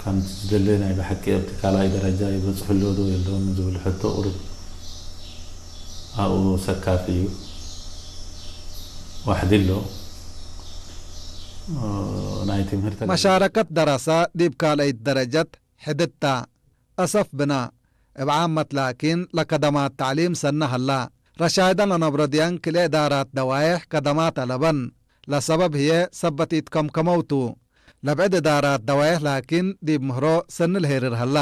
ከምቲ ዝደለ ናይ ብሓቂ ኣብቲ ካልኣይ ደረጃ ይበፅሑ ኣሎ ዶ የለውን ዝብል ሕቶ ቁሩብ ኣብኡ ሰካፊ እዩ። ዋሕዲ ኣሎ ናይ ትምህርቲ። መሻረከት ደረሳ ዲብ ካልአይት ደረጀት ሕድታ አሰፍ ብና እብ ዓመት ላኪን ለከደማት ተዕሊም ሰነ ሀላ። ረሻይደን ለነብሮ ድየን ክልኤ እዳራት ደዋይሕ ከደማት አለበን። ለሰበብ ህዬ ሰበት ኢትከምከመው ቱ። ለብዕድ እዳራት ደዋይሕ ላኪን ዲብ ምህሮ ሰኒ ለሄርር ሀላ።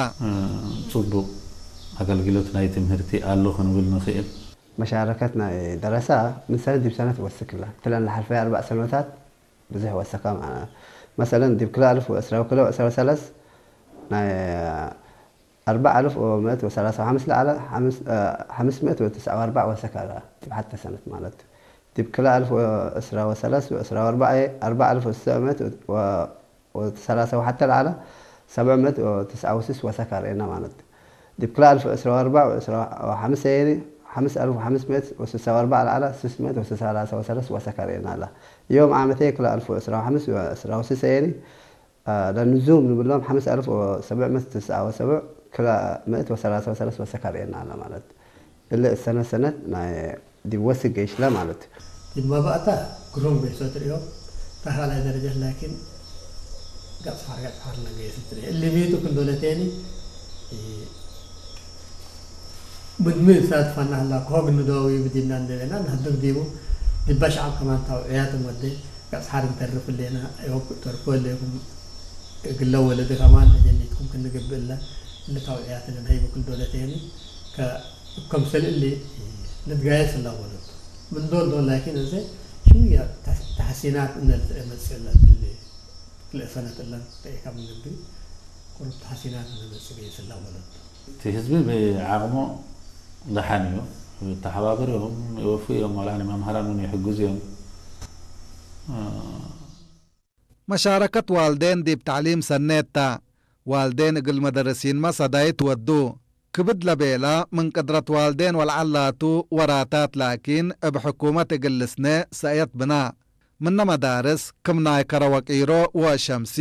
ፅቡቅ ኣገልግሎት ናይ ትምህርቲ ኣሎ ክንብል ንኽእል። መሻረከት ናይ ደረሳ ምን ሰነት ዲብ ሰነት ወስክ እላ። እትለን ለሓልፈያ ኣርባዕ ሰነታት ብዙሕ ወሰካ። መሰለን ዲብ ክልተ ኣልፍ ወዕስራ ወክልተ ወዕስራ ወሰለስ ናይ ኣርባዕ ኣልፍ ወምእት ወሰላሳ ወሓምስ ለዓለ ሓምስ ምእት ወትስዓ ወኣርባዕ ወሰካ እላ። ዲብ ሓተ ሰነት ማለት ዲብ ክልተ ኣልፍ ወዕስራ ወሰለስ ወዕስራ ወኣርባዕ ኣርባዕ ኣልፍ ወስተ ምእት ወሰላሳ ወሓተ ለዓለ ሰብዕ ምእት ወትስዓ ወስስ ወሰካ ርእና ማለት። ዲብ ክልተ ኣልፍ ወዕስራ ወኣርባዕ ወዕስራ ወሓምስ ሰየኒ ሓምስ ኣልፍ ወሓምስ ምእት ወስሳ ወኣርባዕ ለዓለ ስስ ምእት ወሰላሳ ወሰለስ ወሰካ ርእና ኣላ። ዮም ዓመተይ ክልተ ኣልፍ ወዕስራ ወሓምስ ወዕስራ ወስስ ሰየኒ ለንዙም ንብሎም ሓምስ ኣልፍ ወሰብዕ ምእት ወትስዓ ወሰብዕ ክልተ ምእት ወሰላሳ ወሰለስ ወሰካ ርእና ኣላ ማለት። እለ እሰነ ሰነት ናይ ዲብ ወስክ ገይሽላ ማለት። ዲብ መባእታ ግሩም ገይሶ ትርእዮ። እታ ካልኣይ ደረጃ ላኪን ገጽ ሓር ገጽ ሓር ለገይስ ትርእዮ። እሊ ቤቱ ክንዶ ለቴኒ ምድሚ እሳት ፋና ህላ ኮግ ንደዊ ብዲና እንደበና ንህድግ ዲቡ ዲባ ሸዓብ ከማን ታውዕያት ወደ ገጽ ሓር እንተርፍ ሌና ተርፎ ሌኩም እግለ ወለደ ከማን ጀኒትኩም ክንግብእ እለ እለ ታውዕያት ነንሀይቡ ክንዶ ለቴኒ ከም ሰልእሊ ንትጋየስ እላ ወለቱ ምን ዶል ዶል ላኪን እዘ ሽውያ ተሐሲናት እነልትአ መጽእ እለ እትሊ ክልእ ሰነት እለን ተኤካ ምን ግቢ ቁሩብ ተሐሲናት እነ መጽእ ገይስ እላ ወለቱ። እቲ ህዝቢ ብዓቕሙ ደሓን እዩ። ተሓባበርዮም ይወፉ እዮም ዋላ ንመምሃራን እውን ይሕግዙ እዮም። መሻረከት ዋልዴን ዲብ ተዕሊም ሰኔት ተ። ዋልዴን እግል መደርሲንመ ሰዳይት ወዱ። ክብድ ለቤላ ምን ቅድረት ዋልዴን ወለዐል ላቱ ወራታት ላኪን እብ ሕኩመት እግል ልስነ ሰእየት ብና። ምነ መዳርስ ክም ናይ ከረ ወቂሮ ወሸምሲ